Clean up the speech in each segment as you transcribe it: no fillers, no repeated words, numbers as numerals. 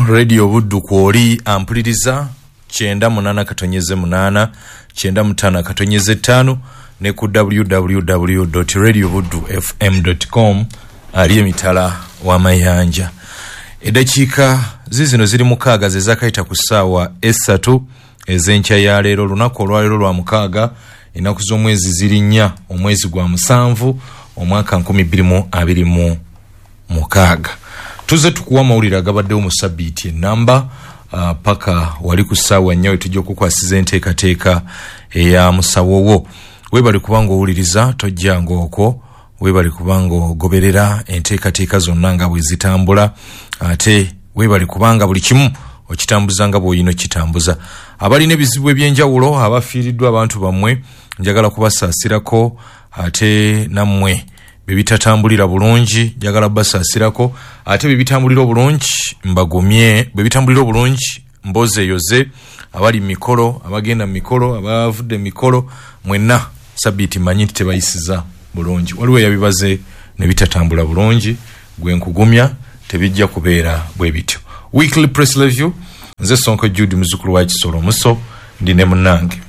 Radio Buddu kwoli ampuliriza 98.8 95.5 ne ku www.radiobuddufm.com ali emitala wa mayanja. Eddakiika zizino ziri 6 ze zaakayita ku ssaawa 3 ez'enkya ya leero. Olunaku olwaleero lwa 6, ennaku z'omwezi ziri 4, omwezi gwa 7, omwaka 2026. Tuze tukuwa amawulire agabaddewo mu sabbiiti ennamba paka wali ku ssaawa 4 wetujja okukwasiza enteekateeka eya musawo wo. Weebale kubanga owuliriza, tojjanga okwo, weebale kubanga ogoberera enteekateeka zonna nga bwe zitambula, ate weebale kubanga buli kimu okitambuza nga bw'olina okitambuza. Abalina ebizibu ebyenjawulo, abafiiriddwa abantu bammwe, njagala kubasaasirako, ate nammwe bebitatambulira bulungi njagala basaasirako, ate bebitambulira obulungi mbagumye, bebitambulira obulungi mboze yoze, abali mikolo, abagenda mikolo, abavudde mikolo, mwenna sabbiiti mmanyi nti tebayisiza bulungi. Waliwo eyabibaze ne bitatambula bulungi, gwe nkugumya tebijja kubeera bwe bityo. Weekly Press Review, nze Sonko Jude muzukulu wa Kisolo Muso, ndi ne munnange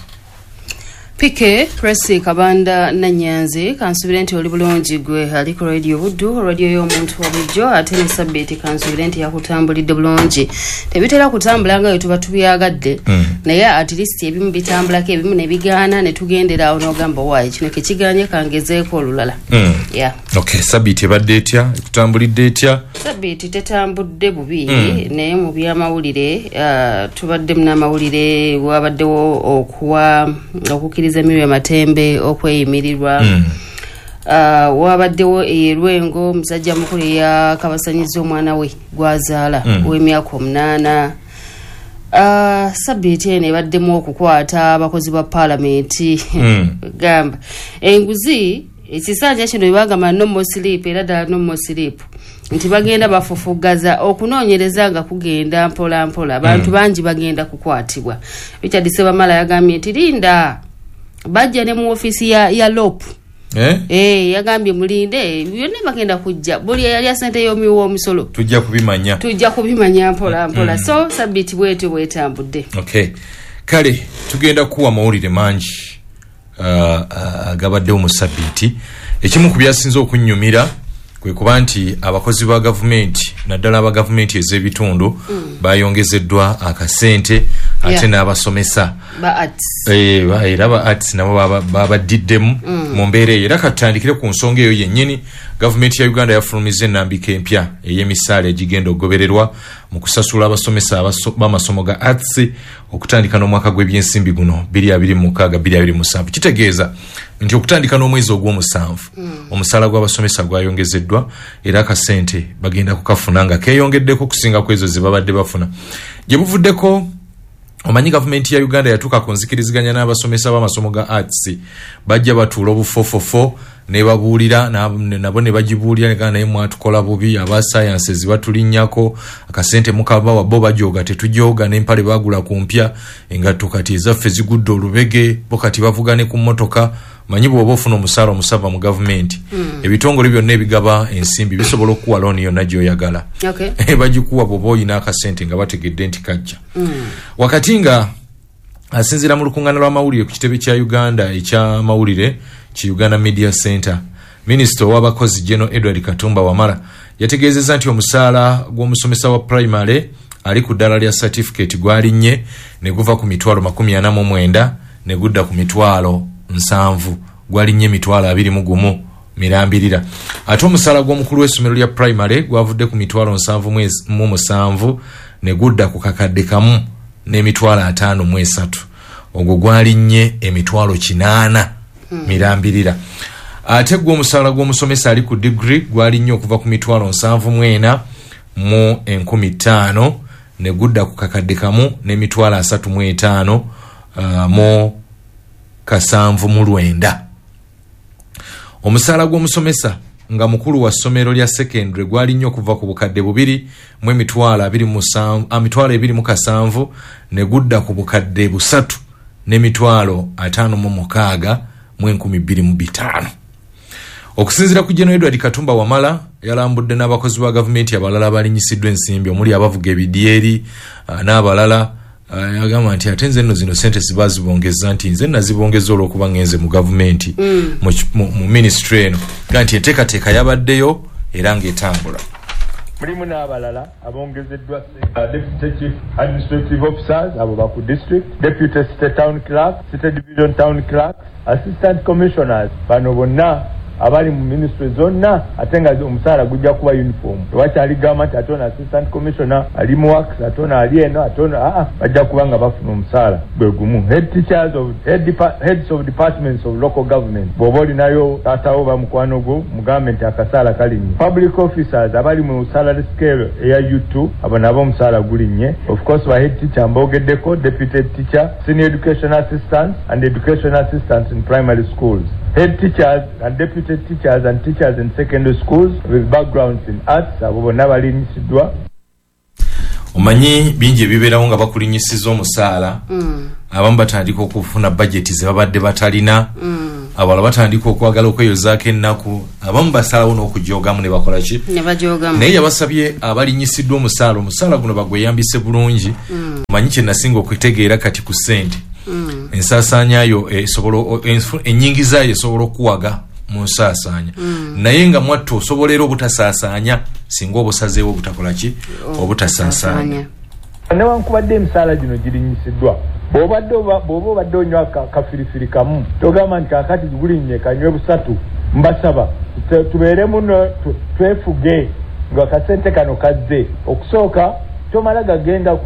Pike Presi Kabanda Nanyanzi. Kansubire nti oli bulungi gwe ali ku Radio Buddu, radio y'omuntu wa bulijjo, ate ne sabbiiti kansubire nti yakutambulidde bulungi. Tebitera kutambula nga bwe tuba tubyagadde, naye at least ebimu bitambulako, ebimu ne bigaana, ne tugendera awo n'ogamba waayi kino kekiganye kangezeeko olulala. Yeah. Okay, sabbiiti ebadde etya? Ekutambulidde etya? Sabbiiti tetambudde bubi, naye mu byamawulire tubaddemu n'amawulire, wabaddewo okuwa okukkiriza Miriam Matembe okweyimirirwa. Wabaddewo Erwengo, omusajja mukulu eyakabasanyiza omwana we gwazaala ow'emyaka 8. Sabbiiti eno ebaddemu okukwata abakozi ba paalamenti. Gamba enguzi ekisanja kino bebagamba no more sleep, era ddala no more sleep, nti bagenda bafufugaza okunoonyereza nga kugenda mpola mpola, abantu bangi bagenda kukwatibwa. Richard Sebamala yagambye nti linda, bajja ne mu ofiisi ya LOP. Yagambye mulinde, byonna bagenda kujja, buli eyalya sente y'omuwi w'omusolo tujja kubimanya, tujja kubimanya mpola mpola. So sabbiiti bwetyo bwetambudde. Okay, kale tugenda kuwa amawulire mangi agabaddewo mu sabbiiti. Ekimu ku byasinze okunnyumira kwe kuba nti abakozi ba gavumenti, naddala aba gavumenti ez'ebitundu, bayongezeddwa akasente, ate n'abasomesa ba arts. Era ba arts nabo babaddiddemu mu mbeera eyo. Era katutandikire ku nsonga eyo yennyini. Gavumenti ya Uganda yafulumiza ennambika empya ey'emisaala egigenda okugobererwa mu kusasula abasomesa b'amasomo ga arts okutandika n'omwaka gw'ebyensimbi guno 2026-2027. Kitegeeza nti okutandika n'omwezi ogw'omusanvu omusaala gw'abasomesa gwayongezeddwa, era akasente bagenda kukafuna nga keeyongeddeko okusinga ku ezo ze babadde bafuna. Gye buvuddeko, omanyi gavumenti ya Uganda yatuuka ku nzikiriziganya n'abasomesa b'amasomo ga arts, bajja batuula obufofofo ne babuulira nabo ne bagibuulira, negana naye mwatukola bubi, aba sciences batulinnyako akasente mukabawa, bo bajooga tetujooga, n'empale bagula ku mpya, engatto kati ezaffe zigudde olubege, bo kati bavuga ne ku mmotoka. Manyi bw'oba ofuna omusaala omusava mu gavumenti, ebitongole byonna ebigaba ensimbi bisobola okukuwa looni yonna gy'oyagala. Bagikuwa bw'oba oyina akasente nga bategedde nti kajja. Wakati nga asinziira mu lukuŋŋaana lw'amawulire ku kitebe kya Uganda eky'amawulire ki Uganda Media Center, minisita ow'abakozi General Edward Katumba Wamala yategeezezza nti omusaala gw'omusomesa wa primary ali ku ddala lya certificate gwalinnye ne guva ku mitwalo 49 ne gudda ku mitwalo 70, gwalinnye emitwalo 21 mirambirira. Ate omusaala gw'omukulu w'essomero lya primary gwavudde ku mitwalo 77 ne gudda ku kakadde kamu n'emitwalo 53, ogwo gwalinnye emitwalo 8 mirambirira. Ate gwo omusaala gw'omusomesa ali ku degree gwalinnye okuva ku mitwalo 74 mu 5,000 ne gudda ku kakadde kamu n'emitwalo 35 mu 79. Omusaala gw'omusomesa nga mukulu wa ssomero lya secondary gwalinnye okuva ku bukadde 2 mu emitwalo 27 ne gudda ku bukadde 3 n'emitwalo 56 mu 2,500. Okusinziira ku General Edward Katumba Wamala, yalambudde n'abakozi ba gavumenti abalala abalinyisiddwa ensimbi omuli abavuga ebidyeri n'abalala. Yagamba nti ate nze nno zino sente zibazibongeza, nti nze nazibongeza olw'okuba ngenze mu gavumenti mu ministry eno, ga nti enteekateeka yabaddeyo era ng'etambula. Mulimu n'abalala abongezeddwa, deputy chief administrative officers abo baku district, deputy city town clerk, city division town clerk, assistant commissioners, bano bonna abali mu ministry zonna, ate nga omusaala gujja kuba uniform. Tewakyali gamba nti ate ono assistant commissioner ali mu works, ate ono ali eno, ate ono aa, bajja kuba nga bafuna omusaala gwe gumu. Head teachers of heads of departments of local government, bw'oba olinayo taatawo bamukwano gwo mugambe nti akasaala kalinnye. Public officers abali mu salary scale eya U2, abo nabo omusaala gulinnye. Of course ba head teacher mbogeddeko, deputy teacher, senior education assistants and education assistants in primary schools, head teachers and deputy teachers and teachers in secondary schools with backgrounds in arts, abo bonna balinyisiddwa. Omanyi bingi ebibeerawo nga bakulinyisiza omusaala. Abamu batandika okufuna bajeti ze babadde batalina, abalala batandika okwagala okweyozaako ennaku, abamu basalawo n'okujoogamu ne bakola ki, ne bajoogamu. Naye yabasabye abalinyisiddwa omusaala, omusaala guno bagweyambise bulungi. Omanyi kye nasinga okutegeera kati ku ssente, ensaasaanyayo esobola, ennyingizayo esobola okuwaga mu nsaasaanya, naye nga mwattu osobola era obutasaasaanya singa obusazeewo obutakola ki, obutasaasaanya. Newankubadde emisaala gino girinyisiddwa, bw'oba obadde onywa kafirifiri kamu, togamba nti kaakati gulinnye kanywe busatu. Mbasaba tubeere muno, twefuge nga kasente kano kazze. Okusooka tomala gagenda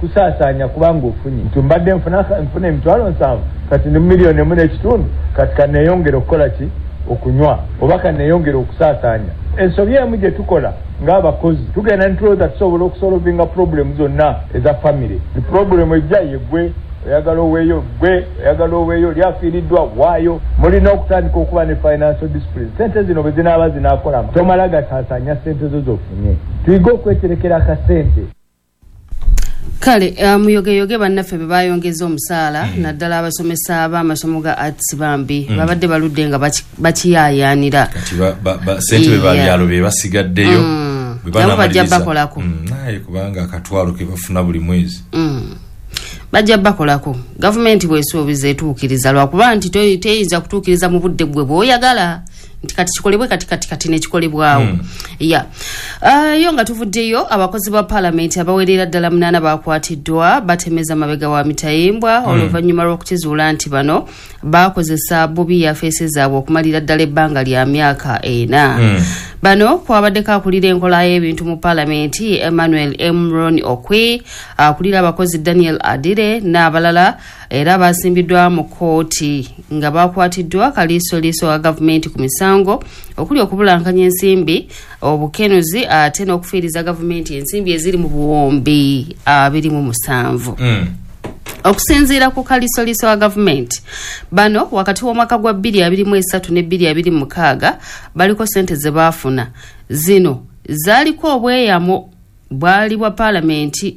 kusaasaanya kubanga ofunye nti mbadde nfuna 700,000, kati ndi 1.5 million, kati kaneeyongere okukola ki, okunywa, oba kaneeyongere okusaasaanya. Ensobi emu gye tukola ng'abakozi, tugenda ntulowooza tusobola okusolvinga problem zonna eza family. Problem ejja yeggwe oyagala oweeyo, gwe oyagala oweeyo, oli afiiriddwa waayo. Mulina okutandika okuba ne financial discipline. Sente zino bwe zinaaba zinaakola, tomala gasaasaanya sente zo z'ofunye. Tuyige okweterekera akasente. Kale muyogeyoge bannaffe be bayongeza omusaala, naddala abasomesa b'amasomo ga arts, bambi babadde baludde nga bakiyaayaanira. Kati sente be babyalo be basigaddeyo, nabo bajja bakolako. Naye kubanga akatwalo ke bafuna buli mwezi, bajja bakolako. Gavumenti bwesuubiza etuukiriza, lwakuba nti teyinza kutuukiriza mu budde gwe bw'oyagala nti kati kikolebwe kati kati kati nekikolebwawo. Ya yo nga tuvuddeyo, abakozi ba paalamenti abawerera ddala 8 bakwatiddwa batemeza mabega wa mitayimbwa, oluvannyuma lw'okukizuula nti bano bakozesa bubi yafeesi zaabwe okumalira ddala ebbanga lya myaka 4. Bano kwabaddeko akulira enkola y'ebintu mu paalamenti Emmanuel Emron Okwi, akulira abakozi Daniel Adire n'abalala, era basimbiddwa mu kkooti nga bakwatiddwa kaliisoliiso wa gavumenti ku misango okuli okubulankanya ensimbi, obukenuzi, ate n'okufiiriza gavumenti ensimbi eziri mu buwumbi 27. Okusinziira ku kaliisoliiso wa gavumenti, bano wakati w'omwaka gwa 2023 ne 2026 baliko sente ze baafuna. Zino zaaliko obweyamo bwali bwa paalamenti,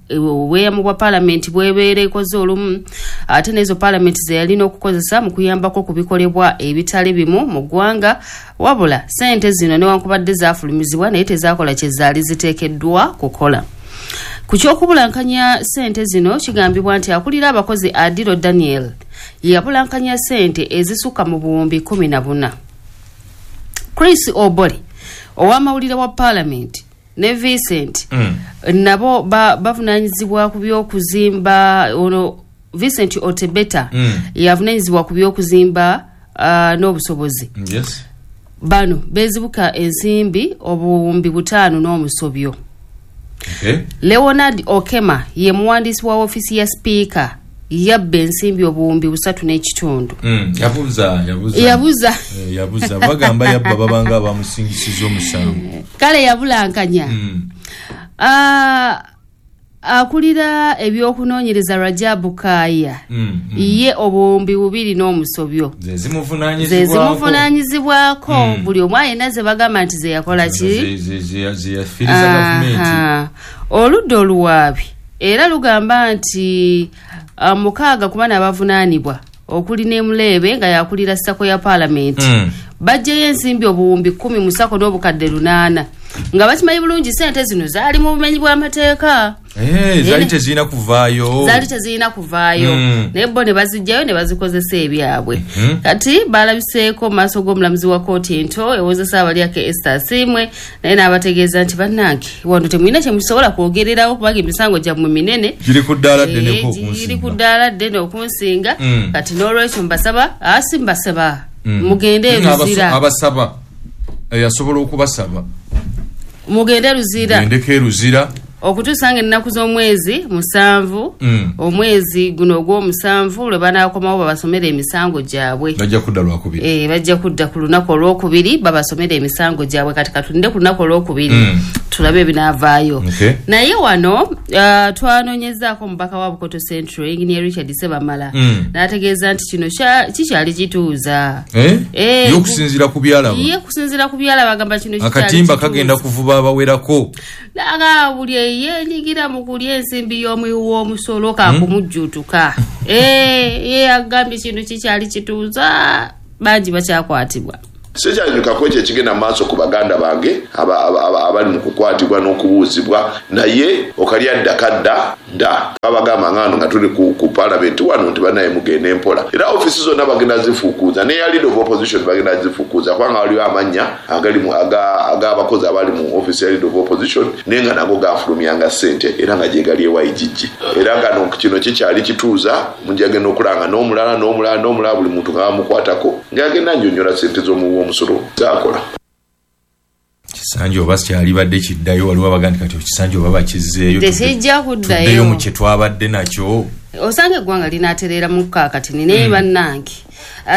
obweyamo bwa paalamenti bwebeera ekoze olumu, ate n'ezo paalamenti ze yalina okukozesa mu kuyambako ku bikolebwa ebitali bimu mu ggwanga. Wabula sente zino newankubadde zaafulumizibwa, naye tezakola kye zaali ziteekeddwa kukola. Ku kyokubulankanya sente zino, kigambibwa nti akulira abakozi Adiro Daniel yabulankanya sente ezisukka mu buwumbi 14. Chris Obore ow'amawulire wa paalamenti ne Vincent nabo bavunanyizibwa ku byokuzimba. Ono Vincent Otebeta yavunanyizibwa ku byokuzimba n'obusobozi. Bano bezibuka ensimbi obuwumbi 5 n'omusobyo. Leonard Okema ye muwandiisi wa ofiisi ya sipiika, yabba ensimbi obuwumbi 3 n'ekitundu. Yabuza yabuza bagamba yabba, babanga bamusingisiza omusango. Kale yabulankanya. Akulira ebyokunoonyereza Rajabu Kaya ye obuwumbi 2 n'omusobyo, ze zimuvunaanyizibwako. Buli omu ayina ze bagamba nti ze yakola ki, Oludda oluwaabi era lugamba nti 6 ku bana abavunaanibwa okuli ne Muleebe nga yakulira SACCO ya paalamenti. Bajjayo ensimbi obuwumbi 10 musako n'obukadde 8 nga bakimanyi bulungi sente zino zaali mu bumenyi bw'amateeka. Zaali tezirina kuvaayo, zaali tezirina kuvaayo. Naye bo ne bazijjayo ne bazikozesa ebyabwe. Kati balabiseeko mu maaso g'omulamuzi wa kkooti ento ewozesa abalyake Esther Asiimwe, naye n'abategeeza nti bannange wano temulina kye musobola kwogererawo kubanga emisango gyammwe minene, giri ku ddaala ddene giri ku ddaala ddene okunsinga. Kati n'olwekyo mbasaba asi mbasaba mugende Luzira. Abasaba yasobola okubasaba mugende Luzira, mugendeko Luzira okutuusa nga ennaku z'omwezi 7 omwezi guno ogw'omusanvu lwe banaakomawo babasomere emisango gyabwe. Bajja kudda lwakubiri. Bajja kudda ku lunaku olwokubiri babasomere emisango gyabwe. Kati katulinde ku lunaku olwokubiri tulabe ebinaavaayo. Naye wano twanoonyezaako omubaka wa Bukoto Central Engineer Richard Sebamala n'ategeeza nti kino kikyali kituuza. Ye okusinziira ku byalaba, ye kusinziira ku byalaba agamba kino kikyali akatimba kagenda kuvuba abawerako. Aga buli yenyigira mu kulya ensimbi y'omuwi w'omusolo kakumujjuutuka. Ye agambye kino kikyali kituuza, bangi bakyakwatibwa. Sikyanyuka ekyo ekigenda mu maaso ku baganda bange abali mu kukwatibwa n'okubuuzibwa, naye okalya dda kadda dda. Babagamba ngano nga tuli ku parliament wano nti banaye mugende mpola, era ofisi zonna bagenda zifukuuza, ne leader of opposition bagenda zifukuuza kubanga waliwo amannya ag'abakozi abali mu ofisi ya leader of opposition naye nga nago gafulumyanga ssente era nga gye gali ewa IGG. Era gano kino kikyali kituuza, munjagenda okulanga n'omulala n'omulala n'omulala buli muntu nga bamukwatako njagenda nnyonnyola ssente z'omuwi w'omusolo zakola. Kisanja oba kyalibadde kiddayo, waliwo abagandi kati ekisanja oba bakizzeeyo tekijja kuddayo mu kye twabadde nakyo. Osanga eggwanga linaatereera mu kaakati naye bannange.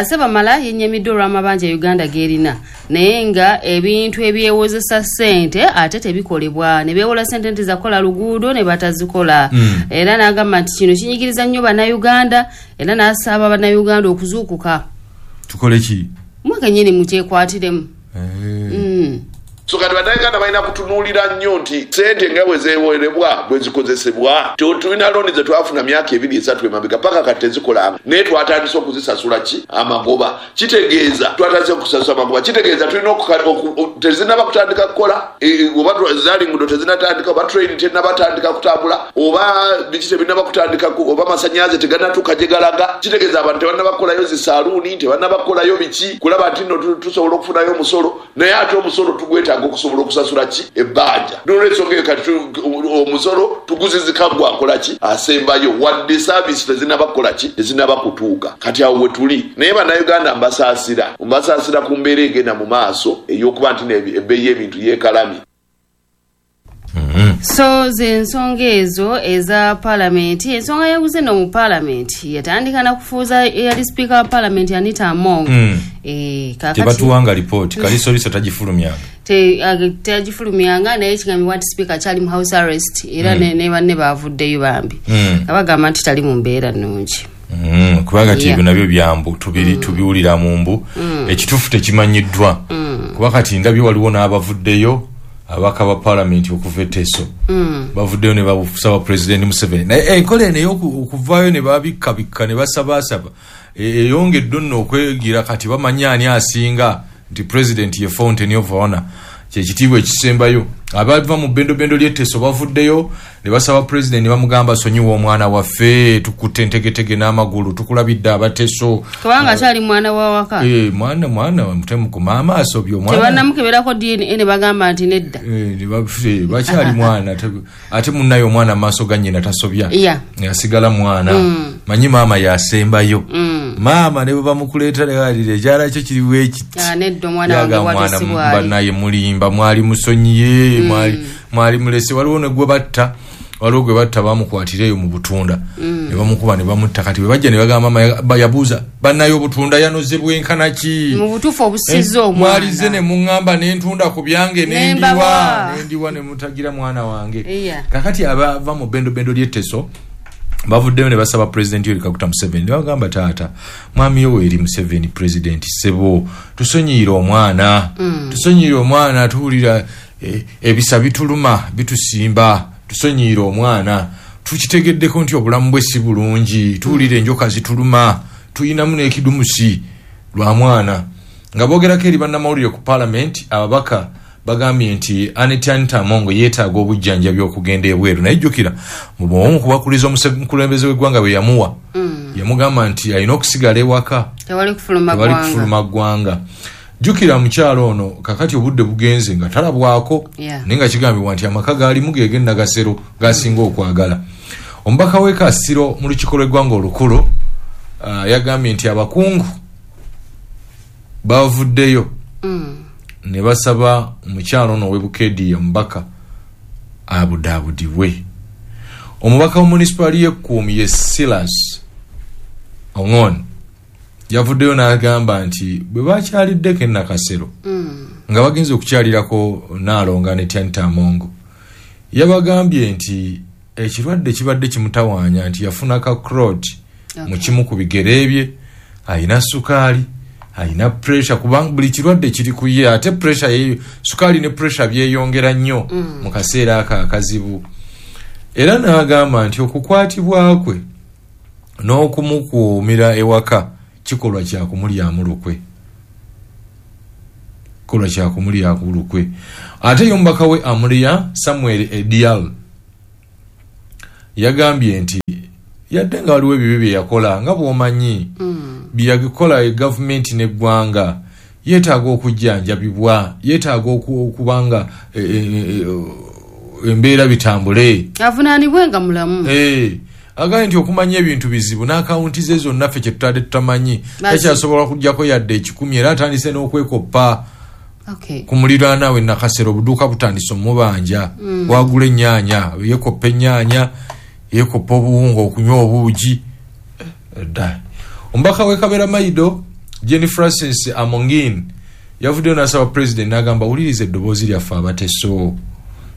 Sebamala yennyamiddwa olw'amabanja Uganda g'erina, naye nga ebintu ebyewozesa ssente ate tebikolebwa, ne beewola ssente nti zakola luguudo ne batazikola. Era n'agamba nti kino kinyigiriza nnyo Bannayuganda, era n'asaba Bannayuganda okuzuukuka. Tukole ki? Mmwe kennyini mukyekwatiremu. So kati Bannayuganda balina kutunuulira nnyo nti ssente nga bwe zeewerebwa bwe zikozesebwa. Tulina looni ze twafuna myaka 2 3 emabega paka kati tezikolanga, naye twatandise okuzisasula ki amagoba. Kitegeeza twatandise okusasula amagoba, kitegeeza tulina tezinnaba kutandika kukola, oba zaali nguudo tezinnatandika, oba train tennabatandika kutambula, oba biki tebinnaba kutandika, oba amasannyalaze tegannatuuka gye galaga. Kitegeeza abantu tebannaba kukolayo zisaaluuni, tebannaba kukolayo biki kulaba nti nno tusobola okufunayo omusolo, naye ate omusolo tugwetaaga okusobola okusasula ki ebbanja. N'olwensonga eyo kati omusolo tuguzizika gwakola ki asembayo, wadde saavisi tezinnaba kukola ki tezinnaba kutuuka. Kati awo we tuli. Naye Bannayuganda mbasaasira ku mbeera egenda mu maaso ey'okuba nti ebbeeyi y'ebintu yeekalamye. So z'ensonga ezo eza palamenti. Ensonga y'enguzi eno mu palamenti yatandika na kufuuza eyali sipiika wa palamenti Anita Among. Tebatuwanga lipooti, Kalisoliso tagifulumyanga. Tagifulumyanga, naye kigambibwa nti sipiika akyali mu house arrest era ne banne baavuddeyo bambi. Abagamba nti tali mu mbeera nnungi. Kubanga ti ebyo nabyo byambu tubiwulira mu mbu ekituufu tekimanyiddwa. Kuba kati ndabye waliwo n'abavuddeyo ababaka ba palamenti okuva e Teso bavuddeyo ne basaba Pulezidenti Museveni, naye enkola eno ey'okuvaayo ne babikkabikka ne basabaasaba eyongedde nno okwegira. Kati bamanyi ani asinga nti Pulezidenti ye fountain of honor, kyekitiibwa ekisembayo. Abava mu bendobendo ly'e Teso bavuddeyo ne basaba Pulezidenti ne bamugamba sonyiwa omwana waffe, tukutte entegetege n'amagulu, tukulabidde abateso kubanga akyali mwana wa waka. Mwana mutemukuma amaaso byo mwana tebannamukeberako DNA ne bagamba nti nedda. Bakyali mwana ate munnaye omwana amaaso ga nnyina tasobya, asigala mwana. Manyi maama yasembayo. Maama ne bwe bamukuleeta legalire ekyala kyo kiri bwekiti. Nedda omwana wange watesibwali bannaye mulimba, mwali musonyiye, mwali mulese. Waliwo ne gwe batta, waliwo gwe batta bamukwatira eyo mu butunda ne bamukuba ne bamutta. Kati bwe bajja ne bagamba yabuuza bannaye obutunda yanoze bwenkana ki mu butuufu obusizza omwana, mwalize ne muŋŋamba n'entunda ku byange nendiwa ne mutagira mwana wange. Kakati abava mu bendobendo ly'e Teso bavuddeyo ne basaba Pulezidenti Yoweri Kaguta Museveni ne bagamba taata mwami Yoweri Museveni Pulezidenti ssebo tusonyiire omwana, tusonyiire omwana, tuwulira ebisa bituluma bitusimba, tusonyiire omwana, tukitegeddeko nti obulamu bwe si bulungi, tuwulira enjoka zituluma, tuyinamu n'ekidumusi lwa mwana. Nga boogerako eri bannamawulire ku paalamenti, ababaka bagambye nti Annet Anita Among yeetaaga obujjanjabi okugenda ebweru. Naye jjukira mu bwomu kubakuliza omukulembeze w'eggwanga bwe yamuwa, yamugamba nti alina okusigala ewaka, tewali kufuluma ggwanga. Jjukira mukyalo ono kakati obudde bugenze nga talabwako, naye nga kigambibwa nti amaka gaalimu ge Nakasero gasinga okwagala. Omubaka w'e Kasiro mu lukiiko lw'eggwanga olukulu yagambye nti abakungu bavuddeyo ne basaba omukyalo ono ow'e Bukeedi omubaka abudaabudibwe. Omubaka wa munisipaali y'Ekkuumi ye Silas Ong'on yavuddeyo n'agamba nti bwe bakyaliddeko e Nakasero nga bagenze okukyalirako Nnaalongo Annet Anita Among, yabagambye nti ekirwadde kibadde kimutawaanya, nti yafuna ka clot mu kimu ku bigere bye, alina sukaali, alina pressure, kubanga buli kirwadde kiri ku ye, ate pressure ye, sukaali ne pressure byeyongera nnyo mu kaseera ako akazibu. Era n'agamba nti okukwatibwa kwe n'okumukuumira ewaka kikolwa kya kumulyamu lukwe, kikolwa kya kumulyamu lukwe. Ate ye omubaka we Amuria Samuel Edial yagambye nti yadde nga waliwo ebibi bye yakola nga bw'omanyi bye yakola gavumenti n'eggwanga, yeetaaga okujjanjabibwa, yeetaaga okubanga embeera bitambule, avunaanibwe nga mulamu. Agambye nti okumanya ebintu bizibu n'akawunti ze zonna ffe kye tutadde tutamanyi, takyasobola kuggyako yadde 100, era atandise n'okwekoppa ku muliraano we Nakasero. Obuduuka butandise omubanja, wagula ennyaanya, yeekoppa ennyaanya, yeekoppa obuwunga, okunywa obuugi. Omubaka w'e Kabera Maido Jenny Francis Amongin yavuddeyo n'asaba pulezidenti n'agamba, wuliriza eddoboozi lyaffe abateso,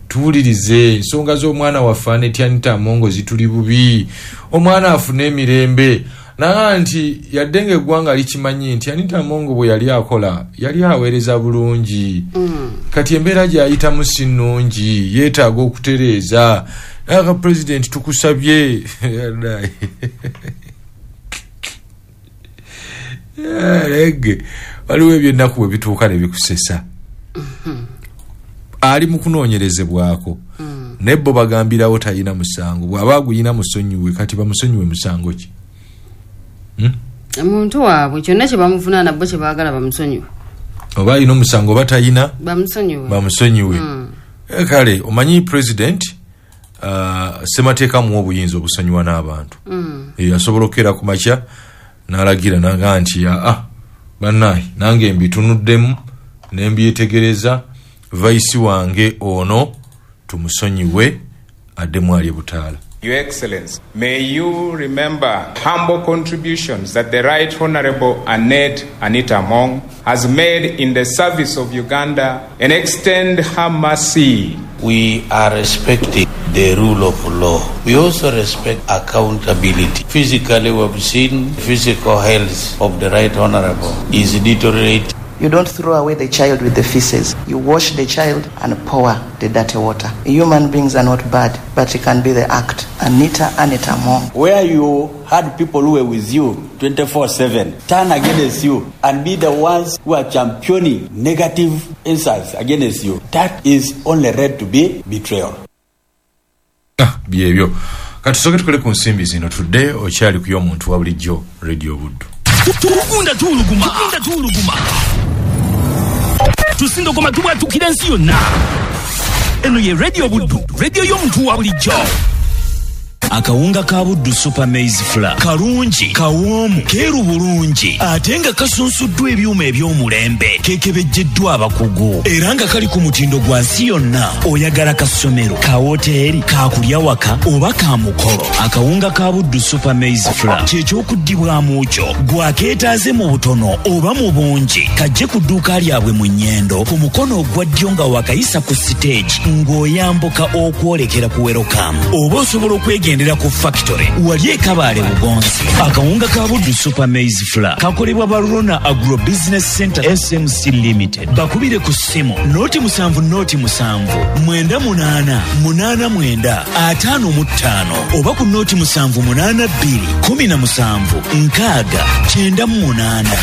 tuwulirize ensonga z'omwana waffe Annet Anita Among zituli bubi, omwana afune emirembe. Naga nti yadde ng'eggwanga likimanyi nti Anita Among bwe yali akola yali aweereza bulungi, kati embeera gy'ayitamu si nnungi, yeetaaga okutereeza. Naga pulezidenti tukusabye. Waliwo ebyennaku bwe bituuka ne bikusesa. Ali mu kunoonyerezebwako, naye bo bagambirawo talina musango, bw'aba aguyina musonyiwe. Kati bamusonyiwe musango ki? Omuntu waabwe kyonna kye bamuvunaana bo kye baagala bamusonyiwe, oba alina omusango oba talina bamusonyiwe. Kale omanyi president ssemateeka muwa obuyinza obusonyiwa n'abantu. Asobola okukeera ku makya n'alagira n'agamba nti bannaye nange mbitunuddemu ne mbyetegereza, vice wange ono tumusonyiwe addemu alye butaala. Your Excellency, may you remember humble contributions that the Right Honorable Annet Anita Among has made in the service of Uganda and extend her mercy. We are respecting the rule of law. We also respect accountability. Physically, we have seen physical health of the Right Honorable is deteriorating. You don't throw away the child with the feces. You wash the child and pour the dirty water. Human beings are not bad, but it can be the act. Anita Anita Among. Where you had people who were with you 24/7 turn against you and be the ones who are championing negative insults against you, that is only read to be betrayal. Byebyo. Katusoke tukole ku nsimbi zino tudde okyali ku y'omuntu wa bulijjo Radio Buddu. Tugunda tuuluguma. Tugunda tuuluguma. Tusindogoma tubwatukira ensi yonna. Eno ye Radio Buddu, radio y'omuntu wa bulijjo. Akawunga ka Buddu Super Maize Flour kalungi, kawoomu, keeru bulungi, ate nga kasunsuddwa ebyuma eby'omulembe, kekebejjeddwa abakugu, era nga kali ku mutindo gwa nsi yonna. Oyagala kasomero, ka woteeri, ka kulya waka oba ka mukolo, akawunga ka Buddu Super Maize Flour kyekyokuddibwamu kyo. Gwakeetaaze mu butono oba mu bungi, kajje ku dduuka lyabwe mu Nnyendo ku mukono ogwa ddyo nga wakayisa ku siteegi ng'oyambuka okwolekera ku Welcome, oba osobola okwegendera ku factory wali e Kabaale Bugonzi. Akawunga ka Buddu Super Maize Flour kakolebwa Barona Agro Business Center SMC Limited. Bakubire ku ssimu 07 07 98 89 55 oba ku 07 82 17 6 98.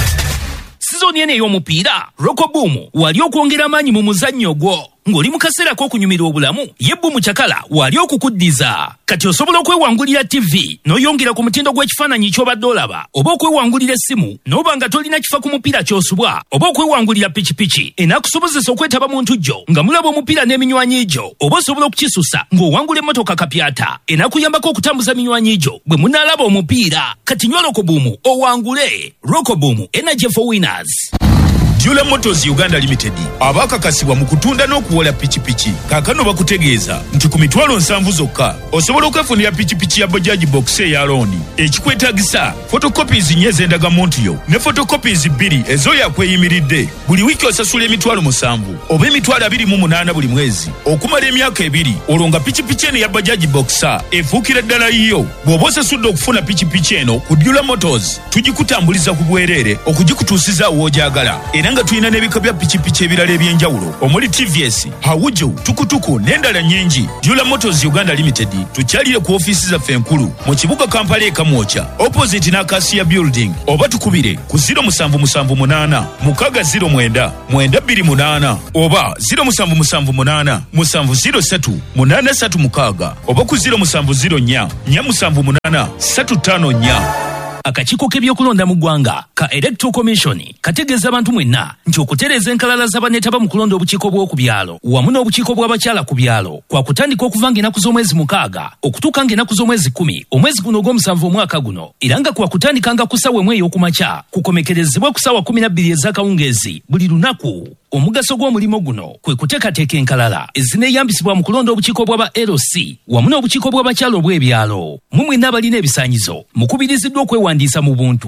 Sizoni eno ey'omupiira, Roko Boom wali okwongera amaanyi mu muzannyo gwo. Ng'oli mu kaseera k'okunyumirwa obulamu, ye Boom Cakala wali okukuddiza. Kati osobola okwewangulira TV n'oyongera ku mutindo gw'ekifaananyi ky'obadde olaba, oba okwewangulira essimu n'oba nga tolina kifa ku mupiira ky'osubwa, oba okwewangulira pikipiki enaakusobozesa okwetaba mu ntujjo nga mulaba omupiira n'eminywanyi gyo, oba osobola okukisusa ng'owangula emmotoka kapyata enaakuyambako okutambuza minywanyi gyo bwe munaalaba omupiira. Kati nywa Roko Boom owangule. Roko Boom, energy for winners. Dula Motors Uganda Limited abakakasibwa mu kutunda n'okuwola pikipiki kaakano bakutegeeza nti ku 70,000 zokka osobola okwefunira pikipiki ya Bajaj Box eya looni. Ekikwetaagisa photocopies 4 ez'endagamuntu yo ne photocopies 2 ez'oyo akweyimiridde. Buli wiiki osasula 7,000 oba 28,000 buli mwezi okumala emyaka 2, olwo nga pikipiki eno ya Bajaj Boxer efuukira ddala yiyo. Bw'oba osasudde okufuna pikipiki eno ku Dula Motors, tugikutambuliza ku bwereere okugikutuusiza w'ogyagala. Era nga tulina n'ebika bya pikipiki ebirala eby'enjawulo omuli TVS, Hawuju, Tukutuku n'endala nnyingi. Dula Motors Uganda Limited tukyalire ku ofiisi zaffe enkulu mu kibuga Kampala e Kamwokya, opposite n'Acacia Building, oba tukubire ku 0778 609 928 oba 0778 703 836 oba ku 0704 478 354. Akakiiko k'ebyokulonda mu ggwanga ka Electoral Commission kategeeza abantu mwenna nti okutereeza enkalala z'abaneetaba mu kulonda obukiiko bw'oku byalo wamu n'obukiiko bw'abakyala ku byalo kwa kutandika okuva ng'ennaku z'omwezi 6 okutuuka ng'ennaku z'omwezi 10 omwezi guno ogw'omusanvu omwaka guno, era nga kwa kutandikanga ku ssaawa 1 ey'okumakya kukomekerezebwa ku ssaawa 12 ez'akawungeezi buli lunaku. Omugaso gw'omulimu guno kwe kuteekateeka enkalala ezineeyambisibwa mu kulonda obukiiko bw'aba LC wamu n'obukiiko bw'abakyala obw'ebyalo. Mmwe mwenna abalina ebisaanyizo mukubiriziddwa okwewandiisa mu buntu.